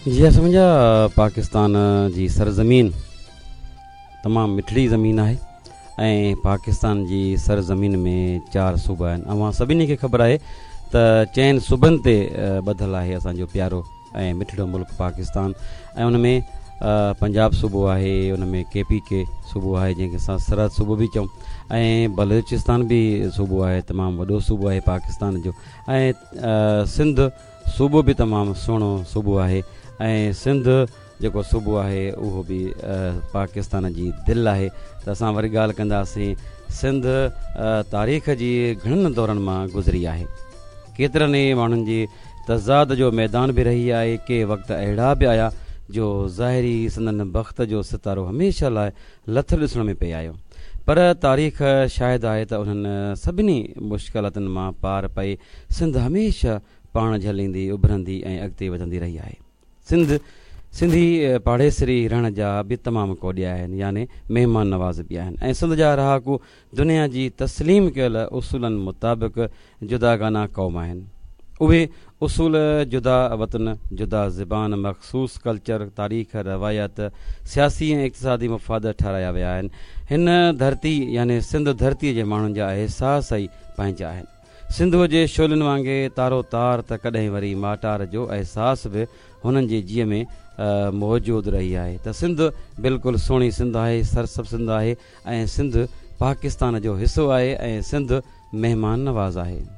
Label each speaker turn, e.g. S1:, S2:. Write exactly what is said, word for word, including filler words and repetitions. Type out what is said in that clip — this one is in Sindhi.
S1: جي اسان منهنجا پاڪستان جي سرزمين تمام مٺڙي زمين آهي ۽ پاڪستان جي سرزمين ۾ چار صوبا آهن. اوهان سڀني کي خبر آهي ته چئن صوبن تي ٻڌل آهي اسان جو پيارو ۽ مٺڙو ملڪ پاڪستان ۽ ان ۾ پنجاب صوبو آهي، ان ۾ ڪي پي ڪي صوبو آهي جنهن کي اسان سرحد صوبو به چئون ۽ بلوچستان به صوبو آهي، تمام وڏو صوبو آهي پاڪستان جو ۽ سنڌ صوبو به تمام سهڻو صوبو آهي ۽ سنڌ جيڪو صوبو آهي اهو به پاڪستان جي دل آهي. ته اسان وري ڳالهه ڪنداسين، سنڌ تاريخ جي گهڻن دورن مان گذري آهي، ڪيترن ئي ماڻهن جي تضاد جو ميدان به رهي آهي. ڪي وقت اهڙا به آيا جو ظاهري سندن بخت جو ستارو هميشه لاء لٿل ڏسڻ ۾ پئي آيو، پر تاريخ شاهد آهي ته انهن سڀني مشڪلاتن مان پار پئي سنڌ هميشه پاڻ جهليندي، اڀرندي ۽ اڳتي وڌندي رهي آهي. سنڌ سنڌي پاڙيسري رهڻ جا به تمام ڪوڏيا آهن، يعني مهمان نواز به آهن ۽ سنڌ جا رهاڪو دنيا جي تسليم ڪيل اصولن مطابق جداگانه قوم آهن. اهي اصول جدا وطن، جدا زبان، مخصوص ڪلچر، تاريخ، روايت، سياسي ۽ اقتصادي مفاد ٺهرايا ويا آهن. هن ڌرتي يعني سنڌ ڌرتي جي ماڻهن جا احساس ئي پنهنجا آهن. سنڌوء جي شعلن وانگي تارو تار ته ڪڏهن وري ماٽار جو احساس به هنن جي جيء ۾ موجود رهي آهي. ته سنڌ بلڪل سهڻي سنڌ آهي، سرسبز سنڌ آهي ۽ سنڌ پاڪستان جو حصو آهي ۽ سنڌ مهمان نواز آهي.